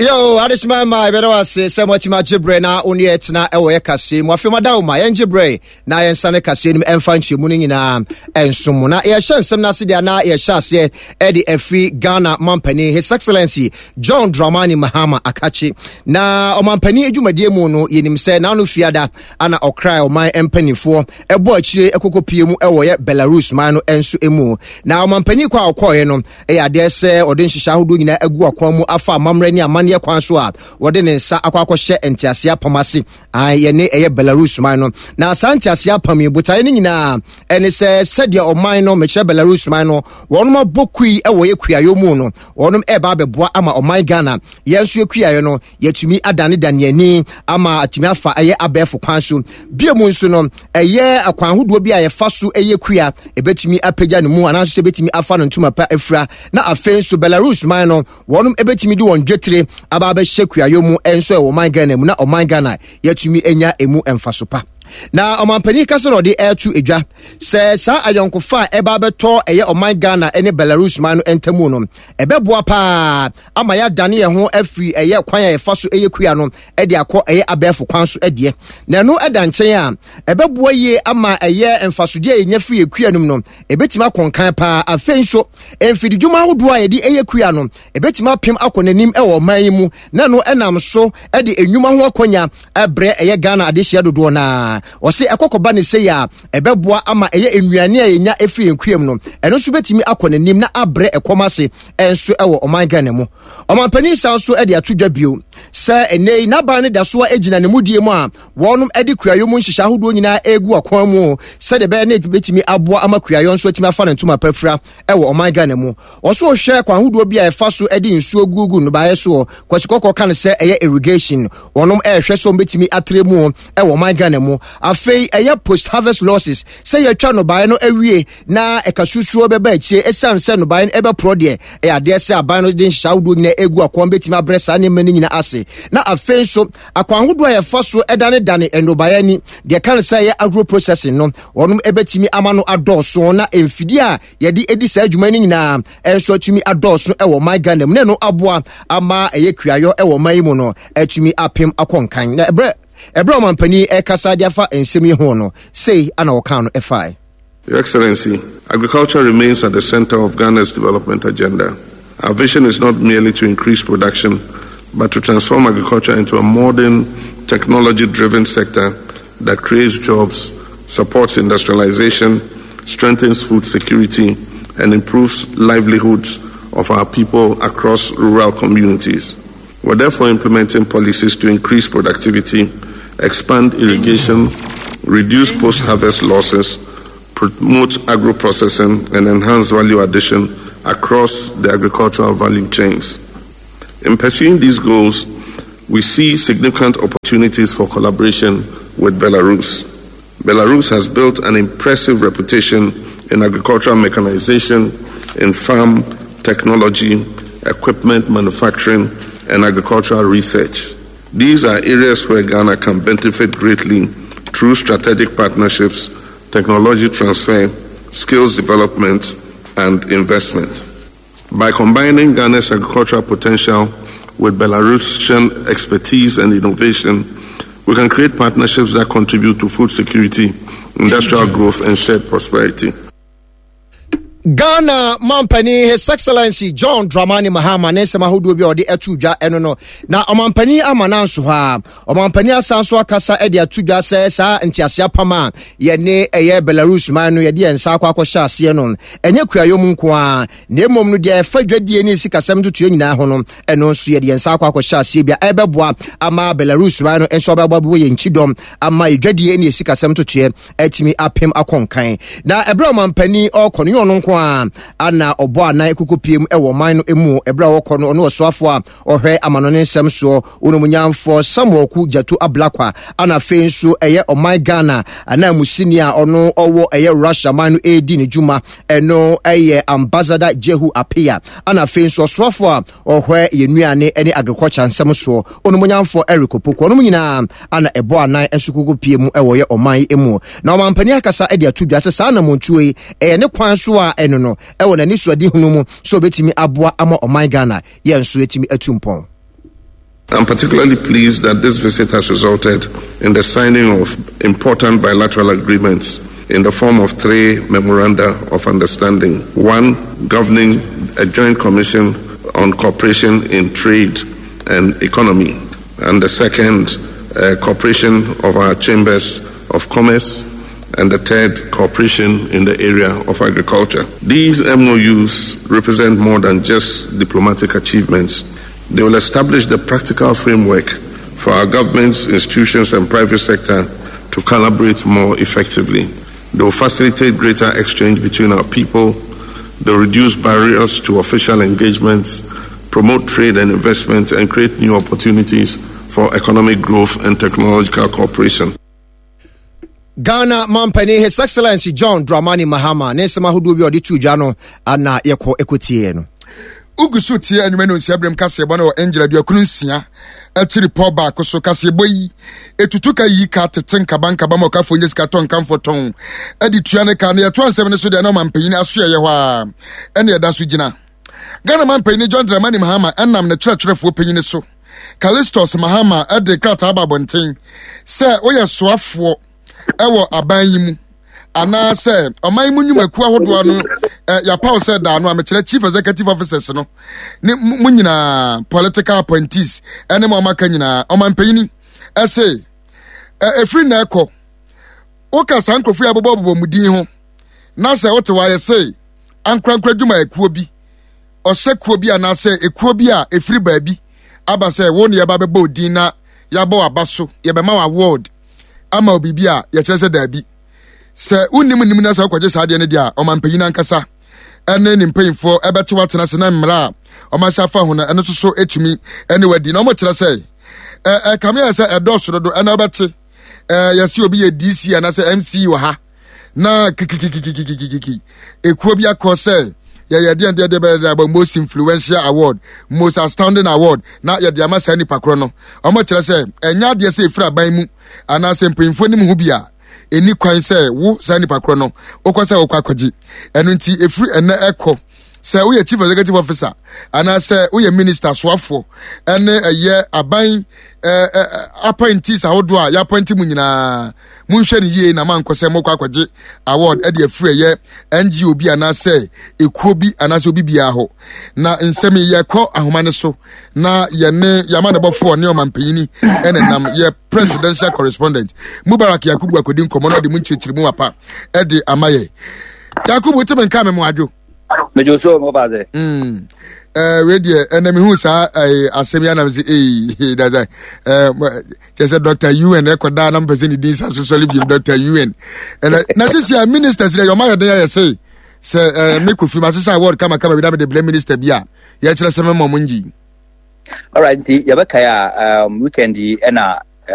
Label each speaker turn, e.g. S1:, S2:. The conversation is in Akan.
S1: Yo, adesima ma yɛbɛda wo ase sɛ moatumi agye berɛ na wo ne yɛtena ɛwɔ yɛ kaseɛ mu. Afei mada wo ma yɛngye berɛ na yɛnsane kaseɛ no mu ɛmfa nkyerɛmu no nyinaa ɛnso mu. Na yɛhyɛ nsɛm no ase deɛ na yɛhyɛ aseɛ ɛde afiri Ghana mampanin His Excellency John Dramani Mahama Akakye. Na ɔmampanin adwumadie mu no yɛnim sɛ n'ano fiada ana ɔkrae ɔman mpanimfoɔ ɛbɔ akyire ɛkɔkɔpie mu ɛwɔ yɛ Belarus man no nso mu. Na ɔmampanin kɔ a ɔkɔɔeɛ no Ɛyɛ adeɛ sɛ ɔde nhyehyɛ ahodoɔ nyinaa agu akwan mu afa amammerɛ ne amanneɛ kwan so a wɔde ne nsa akɔ akɔhyɛ nteaseɛ apam ase. Ae, yɛne ɛyɛ Belarus man no. Na saa nteaseɛ apam yi, botaeɛ no nyinaa ɛne sɛ sɛdeɛ ɔman no, mekyerɛ Belarus man no, wɔnom abɔ kui wɔ yɛ kuayɔ mu no, wɔnom ɛreba abɛboa ama ɔman Ghana, yɛn nso yɛ kuayɔ no, yɛatumi adanedane yɛn ani ama atumi afa ɛyɛ abɛɛfo kwan so. Bio mu nso no, ɛyɛ akwan ahodoɔ bi a yɛfa so ɛyɛ kua, ɛbɛtumi apagya ne mu anaasɛ ɛbɛtumi afa no ntoma pa afira. Na afei nso Belarus man no, wɔnom ɛbɛtumi de wɔn dwetire aba abɛhyɛ kuayɔ mu nso ɛwɔ ɔman Ghana mu na ɔman Ghana yɛatumi anya ɛmu mfaso pa. Na ɔmanpanin kasa na ɔde ɛreto edwa sɛ saa ayɔnkofa a ɛba abɛtɔ ɛyɛ ɔman Ghana ne Belarus man no ntamu no, ɛbɛboa paa ama yɛadane yɛn ho afiri ɛyɛ kwan a yɛfa so ɛyɛ kua no de akɔ ɛyɛ abɛɛfo kwan so deɛ. Na ɛno ɛda nkyɛn a, ɛbɛboa yie ama ɛyɛ mfasodeɛ a yɛnya firi yɛ kua no mu no, ɛbɛtumi akɔ nkan paa. Afei nso, mfididwuma ahodoɔ a yɛde ɛyɛ kua no, ɛbɛtumi apem akɔ n'anim ɛwɔ ɔman yi mu, na ɛno ɛnam so de nnwuma ho akɔnya ɛbrɛ ɛyɛ Ghana adehyeɛ dodoɔ no ara. Ɔse ɛkɔkɔba ne sei a, ɛbɛboa ama ɛyɛ nnuane a yɛnya ɛfiri yɛn kuam no, ɛno nso bɛtumi akɔ n'anim na abrɛ ɛkɔm ase nso wɔ ɔman Ghana mu. Ɔmanpanin san nso de ato dwa bio sɛ ɛnnɛ yi n'aban no da so a gyina ne mudie mu a wɔnom de kuayɔ mu nhyehyɛ ahodoɔ nyinaa ɛregu akwan mu sɛdeɛ ɛbɛyɛ ne bɛtumi aboa ama kuayɔ nso atumi afa ne ntoma pafira wɔ ɔman Ghana mu. Ɔso hwɛ kwan ahodoɔ bi a ɛfa so de nsuo gugu nnɔbaeɛ soɔ. Kwasi Kɔkɔɔ ka no sɛ ɛyɛ irrigation. Wɔnom ɛrehwɛ sɛ wɔbɛtumi atrɛ mu wɔ ɔman Ghana mu. Afei ɛyɛ post harvest losses sɛ yɛatwa nnɔbaeɛ no awie na ɛka susuo bɛba akyire ɛsiane sɛ nnɔbaeɛ no ɛbɛporɔ deɛ, ɛyɛ adeɛ sɛ aban no de nhyehyɛ ahodoɔ nyinaa ɛgu akwan bɛtumi abrɛ saa nneɛma no nyinaa ase. Na afei nso akwan ahodoɔ a yɛfa so danedane nnɔbaeɛ ani deɛ ɛka no sɛ ɛyɛ agro processing no, wɔnom ɛbɛtumi ama no adɔɔso na mfidie a yɛde ɛdi saa adwuma no nyinaa nso atumi adɔɔso ɛwɔ ɔman Ghana mu na ɛno aboa ama ɛyɛ kuayɔ ɛwɔ ɔman yi mu no atumi apem akɔ nkan. Na ɛberɛ ɛberɛ ɔmampanin ɛkasa de afa nsɛm yi ho no, sei ana ɔkaa no ɛfae.
S2: Your Excellency, agriculture remains at the center of Ghana's development agenda. Our vision is not merely to increase production, but to transform agriculture into a modern, technology driven sector that creates jobs, supports industrialization, strengthens food security, and improves livelihoods of our people across rural communities. We're therefore implementing policies to increase productivity, expand irrigation, reduce post harvest losses, promote agro processing, and enhance value addition across the agricultural value chains. In pursuing these goals, we see significant opportunities for collaboration with Belarus. Belarus has built an impressive reputation in agricultural mechanization, in farm technology, equipment manufacturing, and agricultural research. These are areas where Ghana can benefit greatly through strategic partnerships, technology transfer, skills development, and investment. By combining Ghana's agricultural potential with Belarusian expertise and innovation, we can create partnerships that contribute to food security, industrial growth, and shared prosperity.
S1: Ghana mampanin His Excellency John Dramani Mahama ne nsɛm ahodoɔ bi a ɔde ato dwa ɛno no na ɔmampanin ama no nso hɔ a ɔmampanin asan so akasa de ato dwa sɛ saa ntease apam a yɛne ɛyɛ Belarus man no yɛde yɛn nsa akɔ akɔhyɛ aseɛ no ɛnyɛ kuayɔ mu nko ara na mmom no deɛ ɛfa dwadie ne sikasɛm ntotoeɛ nyinaa ho no ɛno nso yɛde yɛn nsa akɔ akɔhyɛ aseɛ bi a ɛbɛboa ama Belarus man no nso abɛboa bɛwɔ yɛn kyidɔm ama yɛdwadie ne sikasɛm ntotoeɛ atumi apem akɔ nkan. Na ɛberɛ a ɔmampanin ɔrekɔ no, nyɛ ɔno nko ara ana ɔbɔ anan kɔkɔpie mu wɔ ɔman no mu. Ɛberɛ a ɔrekɔ no, ɔne ɔsoafoɔ a ɔhwɛ amanɔne nsɛm soɔ, Onomunyamfoɔ Samuel Ku Gyatu Ablakwa, ana afei nso ɛyɛ ɔman Ghana ananmusini a ɔno ɔwɔ ɛyɛ Russia man no ɛredi ne dwuma, ɛno ɛyɛ Ambassador Jehu Appiah, ana afei nso ɔsoafoɔ a ɔhwɛ yɛn nnuane ne agriculture nsɛm soɔ, Onumonyamfoɔ Eric Opoku. Ɔnom nyinaa ana ɛbɔ anan nso koko pie mu wɔ yɛ ɔman yi mu. Na ɔmampanin akasa de ato dwa sɛ saa anamontuo yi ɛyɛ ne kwan so a ɛno no ɛwɔ n'anisoadehunu mu sɛ ɔbɛtumi aboa ama ɔman Ghana yɛn nso yɛtumi atu mpɔn.
S2: I'm particularly pleased that this visit has resulted in the signing of important bilateral agreements in the form of three memoranda of understanding. One governing a joint commission on cooperation in trade and economy, and the second, uh, cooperation of our chambers of commerce, and the third, cooperation in the area of agriculture. These MOUs represent more than just diplomatic achievements. They will establish the practical framework for our governments, institutions, and private sector to collaborate more effectively. They will facilitate greater exchange between our people, they reduce barriers to official engagements, promote trade and investment, and create new opportunities for economic growth and technological cooperation.
S1: Ghana mampanin His Excellency John Dramani Mahama ne nsɛm ahodoɔ bi a ɔde too dwa no ana yɛkɔ ɛkɔtieɛ no.
S3: Wogu so tie anwuma no nsia berem kaseɛbɔ no wɔ Angel aduokron nsia akyiri pɔ baako so. Kaseɛbɔ yi etutu ka yi ka tete nkaba nkaba ma ɔkafoɔ nya sika tɔ nkamfo tɔn de tua ne ka. Na yɛtoa nsɛm no so deɛ na ɔmampanyin asoɛeɛ hɔ a ɛne ɛda so gyina. Ghana mampanyin John Dramani Mahama ɛnam ne kyerɛkyerɛfoɔ panyin so Callistus Mahama de krataa aba abɔnten sɛ woyɛ soafoɔ wɔ aban yi mu anaasɛ ɔman mu nnwumakuo ahodoɔ no yɛapaw sɛ daa no a mekyerɛ chief executive officers no ne mu nyinaa political appointees ɛne mo amaka nyinaa ɔmampanyini ɛse ɛfiri na ɛkɔ woka saa nkurɔfoɔ yi abobɔbobɔ mu din ho na sɛ wote hɔ ayɛ se ankorankora adwumayɛkuo bi ɔhyɛ kuo bi anaasɛ ekuo bi a ɛfiri baabi aba sɛ wo ne yɛba bɛbɔ odin na yɛabɔ w'aba so yɛbɛma wo award ama wo biribi a yɛkyerɛ sɛ daabi sɛ wonim nim na sɛ wokɔgye saa adeɛ no deɛ a ɔmampanyin ankasa ɛne ne mpanyinfoɔ ɛbɛte watena ase na mmara a ɔmahyɛ afa ho no ɛno nso so ɛtumi ɛne wadi na wɔkyerɛ sɛ ɛkame ayɛ sɛ ɛdɔɔso dodo ɛna wobɛte yɛse obi yɛ dc anaasɛ mc wɔ ha na kikikikikikiki ekuo bi akɔ sɛ yɛyɛ deɛ deɛ deɛ bɛyɛ deɛ abɔ most influential award most astounding award na yɛde ama saa nipa korɔ no wɔn kyerɛ sɛ ɛnyɛ adeɛ sɛ efiri aban mu anaasɛ mpanyinfoɔ nim ho bi a ɛni kwan sɛ wo saa nipa korɔ no wokɔ sɛ wokɔ akɔgye ɛno nti efiri ɛnɛ ɛkɔ sɛ woyɛ chief executive officer anaasɛ woyɛ minister soafoɔ ɛne ɛyɛ aban ɛɛ appointees ahodoɔ a yɛappointe mu nyinaa monhwɛ no yie na mankɔ sɛ mokɔ akɔgye award ɛde afiri ɛyɛ ngo bi anaasɛ ekuo bi anaasɛ obi biara hɔ na nsɛm yi yɛkɔ ahoma no so na yɛne yɛama ne bɔfoɔ ne ɔmampanyini ɛne nam yɛ presidential correspondent mubarak yakubu akɔdi nkɔmmɔ na ɔde mu nkyerɛkyerɛ mu apa ɛde ama yɛ yakubu te me nka me mo adwo
S4: mejo so mo ba ze
S3: mm eh we deɛ ɛnna mehu saa eh, asɛm yi anam sɛ ee dada eh, kyɛ sɛ dr un ɛkɔdaa na mpɛ sɛ ne din sa so sɔre biom dr un ɛnɛ na sisi a ministers dɛ yɛma yɛden ayɛ sɛ sɛ eh, me kofi ma sesa award kamakama bi na mede brɛ minister bi a yɛkyerɛ sɛ mɛma mo ngyi
S4: alright nti yɛbɛkae a um, weekend yi ɛna